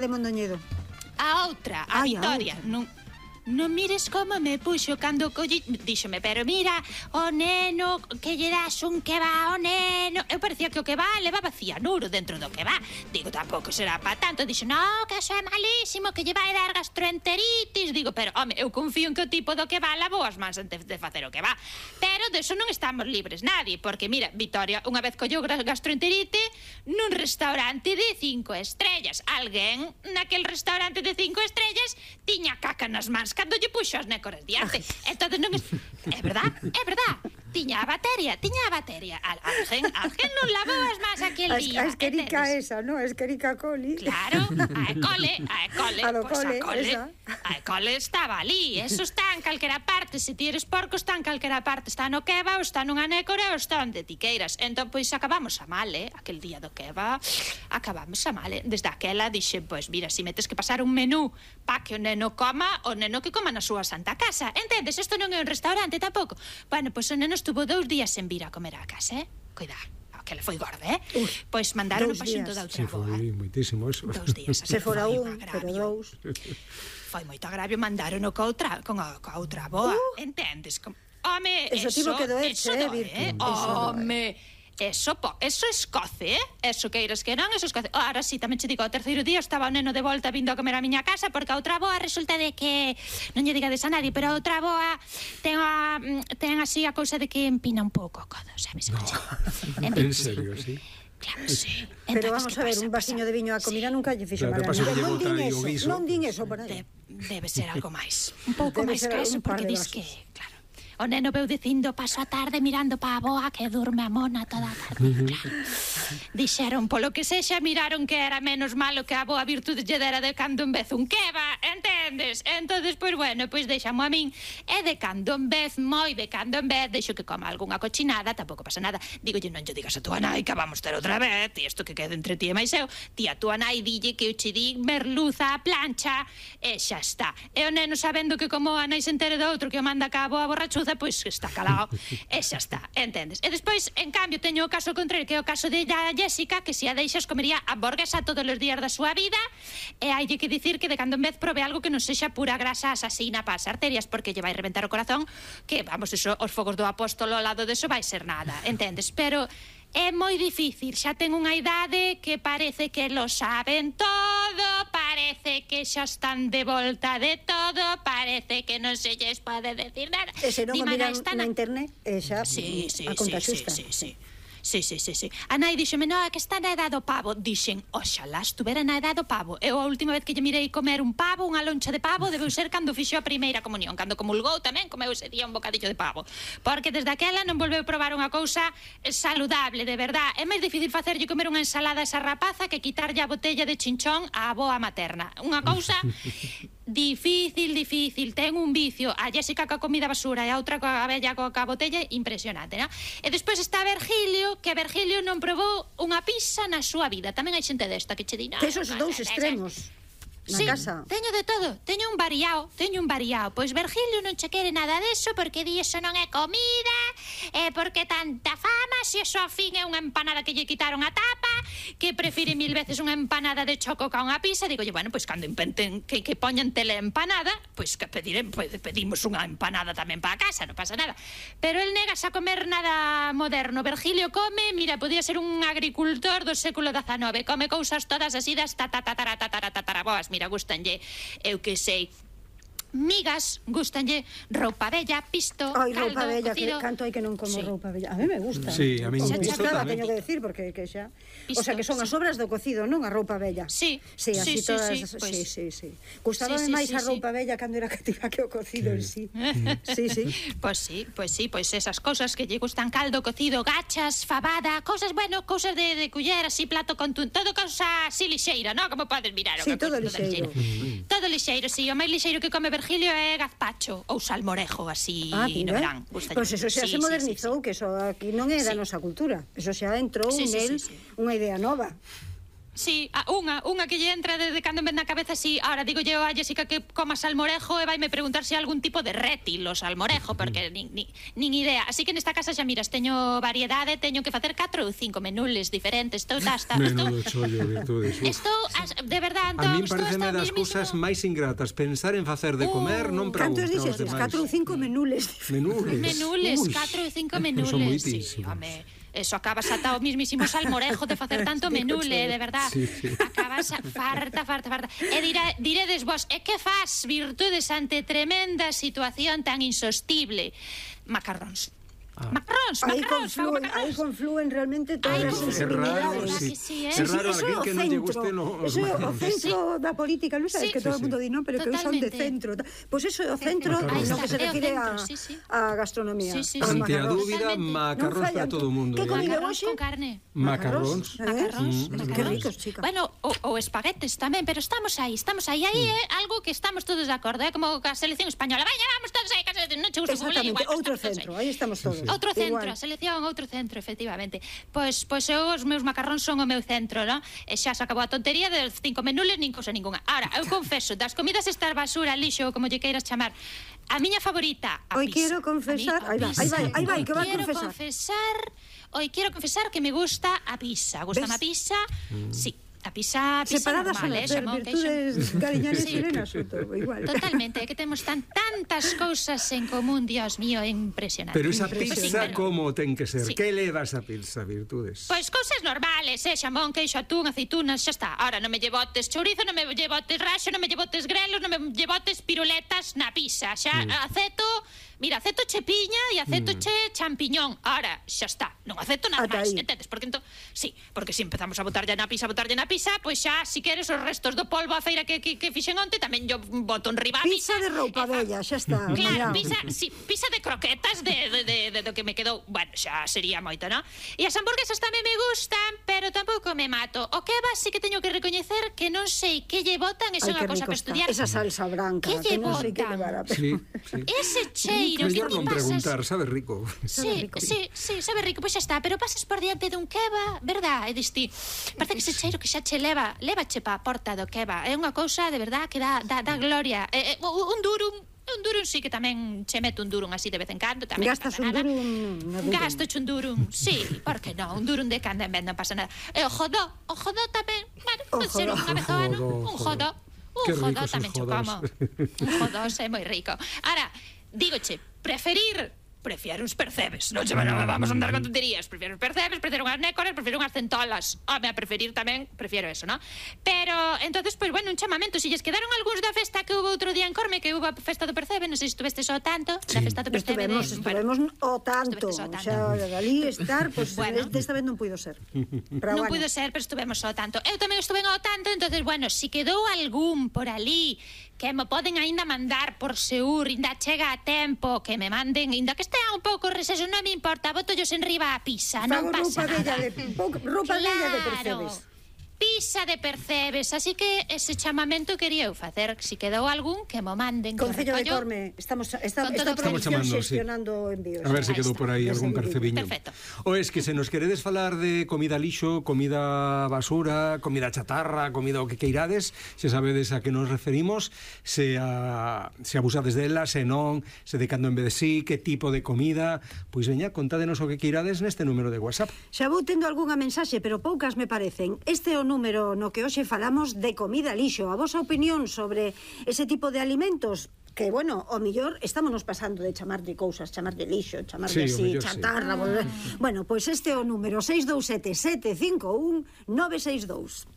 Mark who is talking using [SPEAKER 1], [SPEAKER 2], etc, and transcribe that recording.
[SPEAKER 1] de Mondoñedo.
[SPEAKER 2] A outra, a Vitoria. Non mires como me puxo cando colli... Díxome, pero mira, o neno, que lle das un que va ao neno. Eu parecía que o que va levaba cianuro dentro do que va. Digo, tampouco será pa tanto. Dixo, no, que eso é malísimo, que lle vai dar gastroenteritis. Digo, pero, home, eu confío en que o tipo do que va lavou as mans antes de facer o que va. Pero deso non estamos libres nadie, porque mira, Vitoria unha vez colleu gastroenterite nun restaurante de 5 estrellas. Alguén naquel restaurante de 5 estrellas tiña caca nas mans cando lle puxo as nécoras diante. Entón non é... É verdad. Tiña a batería. Alguén non lavou as mans aquel día.
[SPEAKER 1] A esquerica esa, non? A esquerica coli.
[SPEAKER 2] Claro, a E. coli.
[SPEAKER 1] A do cole, esa.
[SPEAKER 2] A E. coli estaba ali. Eso está en calquera parte. Se ti eres porco, está en calquera parte. Está no keba, ou está nunha nécora, ou está onde ti queiras. Entón, pois, acabamos a mal, aquel día do keba. Acabamos a mal, Desde aquela dixe, pois, mira, si metes que pasar un menú pa que o neno coma, o neno que coma na súa santa casa. Entendes? Isto non é un restaurante tampouco. Bueno, pois o neno estuvo 2 días sen vir a comer á casa, Cuidado, que le foi gorda, Pois mandaron pa xunto da outra boa.
[SPEAKER 3] Foi moitísimo eso.
[SPEAKER 2] 2 días.
[SPEAKER 1] Se fora un, pero 2.
[SPEAKER 2] Foi moito agravio, mandaron con a outra boa. Entendes? Home,
[SPEAKER 1] eso tivo que doerse,
[SPEAKER 2] Virtu. Home, eso escoce, Eso queiras que non, eso escoce. Ahora sí, tamén che digo, o terceiro día estaba o neno de volta vindo a comer a miña casa, porque a outra boa resulta de que, non lle digades a nadie, pero a outra boa ten así a cousa de que empina un pouco o codo, sabes?
[SPEAKER 3] No. En serio, sí?
[SPEAKER 2] Claro, sí.
[SPEAKER 1] Pero vamos a ver, un vasiño de viño a comida nunca lle fixo mal a ninguén. Non din eso por aí.
[SPEAKER 2] Debe ser algo máis. Un pouco máis que eso, porque dis que, claro, o neno veu dicindo paso a tarde mirando pa a boa que durme a mona toda a tarde. Claro. Dixeron, polo que sexa, miraron que era menos malo que a boa virtude lle dera de cando en vez un keba, entendes? Entonces, pois bueno, pois deixamo a min. E de cando en vez, moi de cando en vez, deixo que coma algunha cochinada, tampouco pasa nada. Digolle, non lle digas a tua nai que vamos ter outra vez, e isto que quede entre ti e máis eu. Ti a tua nai dille que eu che di merluza a plancha, e xa está. E o neno sabendo que como a nai se entere do outro que o manda ca a boa borrachuza, pois está calado, e xa está, entendes? E despois, en cambio, teño o caso contrario, que é o caso de Jessica, que se a deixas comería hamburguesa todos os días da súa vida, e hai que dicir que de cando en vez prove algo que non sexa pura grasa asasina para as arterias, porque lle vai reventar o corazón, que, vamos, eso, os fogos do apóstolo ao lado deso vai ser nada, entendes? Pero é moi difícil, xa ten unha idade que parece que lo saben todo, parece que xa están de volta de todo, parece que non se lles pode decir nada.
[SPEAKER 1] E se non o miran na internet, xa a conta xusta.
[SPEAKER 2] Sí. A nai dixeme, no, que está na edad do pavo. Dixen, oxalá estuvera na edad do pavo. Eu a última vez que lle mirei comer un pavo, unha loncha de pavo, debeu ser cando fixo a primeira comunión. Cando comulgou tamén comeu ese día un bocadillo de pavo. Porque desde aquela non volveu probar unha cousa saludable, de verdad. É máis difícil facerlle comer unha ensalada a esa rapaza que quitarlle a botella de chinchón á avoa materna. Unha cousa difícil, ten un vicio. A Jessica coa comida basura e a outra coa bella coa botella, impresionante, non? E despois está Virgilio, que Virgilio non probou unha pizza na súa vida. Tamén hai xente desta que che di,
[SPEAKER 1] que esos dous extremos na casa.
[SPEAKER 2] Teño de todo, teño un variao. Pois Virgilio non che quere nada deso, porque di eso non é comida, porque tanta fama, se eso a fin é unha empanada que lle quitaron a tapa, que prefire 1000 veces unha empanada de choco ca unha pizza. Digo, bueno, pois cando inventen que poñan tele empanada, pois que pedimos unha empanada tamén para casa, non pasa nada. Pero el negas a comer nada moderno. Virgilio come, mira, podía ser un agricultor do século XIX, come cousas todas así das tataraboas. Mira, gustanlle, eu que sei, migas, gustanlle roupa bella, pisto,
[SPEAKER 1] caldo,
[SPEAKER 2] roupa
[SPEAKER 1] bella,
[SPEAKER 2] cocido.
[SPEAKER 1] Que canto hai que non como roupa bella. A mí me gusta.
[SPEAKER 3] Sí, a mí me gusta tamén.
[SPEAKER 1] Teño que decir, porque que xa... O sea, que son as obras do cocido, non a roupa bella.
[SPEAKER 2] Sí,
[SPEAKER 1] así todas... Sí. Gustábame máis a roupa bella cando era cativa que o cocido en sí. Sí.
[SPEAKER 2] Pois esas cousas que lle gustan, caldo, cocido, gachas, fabada, cousas, bueno, cousas de culler, así, plato con todo cousa así lixeira, non? Como podes mirar.
[SPEAKER 1] Sí, todo lixeiro.
[SPEAKER 2] Todo lixeiro, sí. O máis lixeiro que come Virgilio é gazpacho ou salmorejo, así no verán.
[SPEAKER 1] Pois eso xa se modernizou, que eso aquí non é da nosa cultura. Eso xa entrou nel unha idea nova.
[SPEAKER 2] Sí, unha que lle entra de cando en vez na cabeza, sí. Ahora digo yo a Jessica que coma salmorejo e vaime preguntar se hai algún tipo de rétil o salmorejo, porque nin idea. Así que nesta casa xa miras, teño variedade, teño que facer 4 ou 5 menús diferentes.
[SPEAKER 3] Menudo chollo, Virtudes.
[SPEAKER 2] Estou, de verdade, Antón,
[SPEAKER 3] a min pareceme das cousas máis ingratas pensar en facer de comer, non para
[SPEAKER 1] cantos dixetes? 4 ou 5 menús.
[SPEAKER 2] Menules, 4 ou 5 menules.
[SPEAKER 3] Son
[SPEAKER 2] Sí,
[SPEAKER 3] moitísimos.
[SPEAKER 2] home, eso acabas ata o mismísimo salmorejo de facer tanto menule, de verdad.
[SPEAKER 3] Sí.
[SPEAKER 2] Acabas farta. E diredes vos, e que fas, Virtudes, ante tremenda situación tan insostible? Macarróns. Macarróns.
[SPEAKER 1] Aí conflúen realmente todas as sensibilidades.
[SPEAKER 3] É raro alguén que non lle guste
[SPEAKER 1] Eso é o centro da política, non sabes que todo o mundo di, non, pero que son de centro. Pois eso é o centro no que se refire a gastronomía.
[SPEAKER 3] Ante a dúbida, macarróns para todo o mundo.
[SPEAKER 1] Que comida
[SPEAKER 2] Macarróns
[SPEAKER 1] hoxe?
[SPEAKER 2] con carne.
[SPEAKER 3] Macarróns.
[SPEAKER 1] Que ricos, chica.
[SPEAKER 2] Bueno, ou espaguetes tamén, pero estamos aí. Aí é algo que estamos todos de acordo, é como a selección española. Vaya, vamos todos aí, non che gusta como
[SPEAKER 1] exactamente, outro centro, aí estamos todos.
[SPEAKER 2] Outro centro, a selección, outro centro, efectivamente. Pois eu, os meus macarróns son o meu centro, non? E xa se acabou a tontería de 5 menús, nin cousa ninguna. Ahora, eu confeso, das comidas estas basura, lixo, como lle queiras chamar, a miña favorita, a pizza.
[SPEAKER 1] Hoy quero confesar, aí vai, que va a confesar.
[SPEAKER 2] Hoy quero confesar que me gusta a pizza. Gústame a pizza, sí. A pizza
[SPEAKER 1] separadas
[SPEAKER 2] normal,
[SPEAKER 1] ser virtudes cariñanes chilenas, igual.
[SPEAKER 2] Totalmente, é que temos tantas cousas en común, Dios mío, é impresionante.
[SPEAKER 3] Pero esa pizza como ten que ser?
[SPEAKER 2] Sí.
[SPEAKER 3] Que leva esa pizza, Virtudes?
[SPEAKER 2] Pois cousas normales, xamón, queixo, atún, aceitunas, xa está. Ahora non me llevotes chourizo, non me llevotes raxo, non me llevotes grelos, non me llevotes piruletas na pizza. Xa aceto, mira, aceto che piña e aceto che champiñón. Ahora, xa está, non aceto nada máis, entendes? Porque sí, porque se empezamos a botarlle na pizza, pois xa, si queres, os restos do polvo a feira que fixen onte, tamén yo boto en riba a
[SPEAKER 1] pizza de roupa bella, xa está.
[SPEAKER 2] Claro, pizza de croquetas de do que me quedou, bueno, xa sería moito, non? E as hamburguesas tamén me gustan, pero tampouco me mato. O kebab sí que teño que recoñecer que non sei que lle botan, é unha cosa para estudiar.
[SPEAKER 1] Esa salsa branca,
[SPEAKER 2] que non sei que
[SPEAKER 1] levar.
[SPEAKER 3] Sí.
[SPEAKER 2] Ese cheiro que
[SPEAKER 3] mellor non preguntar, sabe rico.
[SPEAKER 2] Sí, sabe rico, pois xa está, pero pasas por diante dun kebab, verdad? E dis ti, parece que ese cheiro que xa che lévache pa a porta do kebab. É unha cousa de verdad que dá gloria. Un durum sí que tamén che meto un durum así de vez en cando.
[SPEAKER 1] Gastas un durum?
[SPEAKER 2] Gasto un durum, sí, por que non? Un durum de cando en vez non pasa nada. E o jodó tamén, bueno, pode ser unha vez ao ano. Un jodó tamén cho como. Un jodó é moi rico. Ahora, dígoche, prefiero uns percebes, non vamos a andar con tonterías. Prefiero uns percebes, prefiero unhas nécoras, prefiero unhas centolas. A preferir tamén, prefiero eso, non? Pero, entonces, pois, bueno, un chamamento. Se lles quedaron algúns da festa que hubo outro día en Corme, que hubo a festa do percebe, non sei se estuvestes ao tanto, da festa do percebe.
[SPEAKER 1] Estuvemos o tanto. Xa, ali estar, pois, desta vez non puido ser.
[SPEAKER 2] Non puido ser, pero estuvemos ao tanto. Eu tamén estuve ao tanto, entonces, bueno, se quedou algún por ali que me poden aínda mandar por Seur, ainda chega a tempo, que me manden, ainda que estea un pouco receso, non me importa, botollos en riba a pizza, non pasa nada.
[SPEAKER 1] Roupa bella de percebes.
[SPEAKER 2] Pizza de percebes, así que ese chamamento quería eu facer, si quedou algún que mo manden.
[SPEAKER 1] Concello de Corme, estamos producción xestionando envíos.
[SPEAKER 3] A ver se quedou por aí algún percebiño.
[SPEAKER 2] Perfecto.
[SPEAKER 3] O es que se nos queredes falar de comida lixo, comida basura, comida chatarra, comida o que queirades, se sabedes a que nos referimos, se abusades dela, se non, se de cando en vez de sí, que tipo de comida, pois veña, contádenos o que queirades neste número de WhatsApp.
[SPEAKER 1] Xa vou tendo algunha mensaxe, pero poucas me parecen. Este é o número no que hoxe falamos de comida lixo. A vosa opinión sobre ese tipo de alimentos que, bueno, o mellor estámonos pasando de chamar de cousas, chamar de lixo, chamar de así, chatarra, bueno, pois este é o número 627 751 962.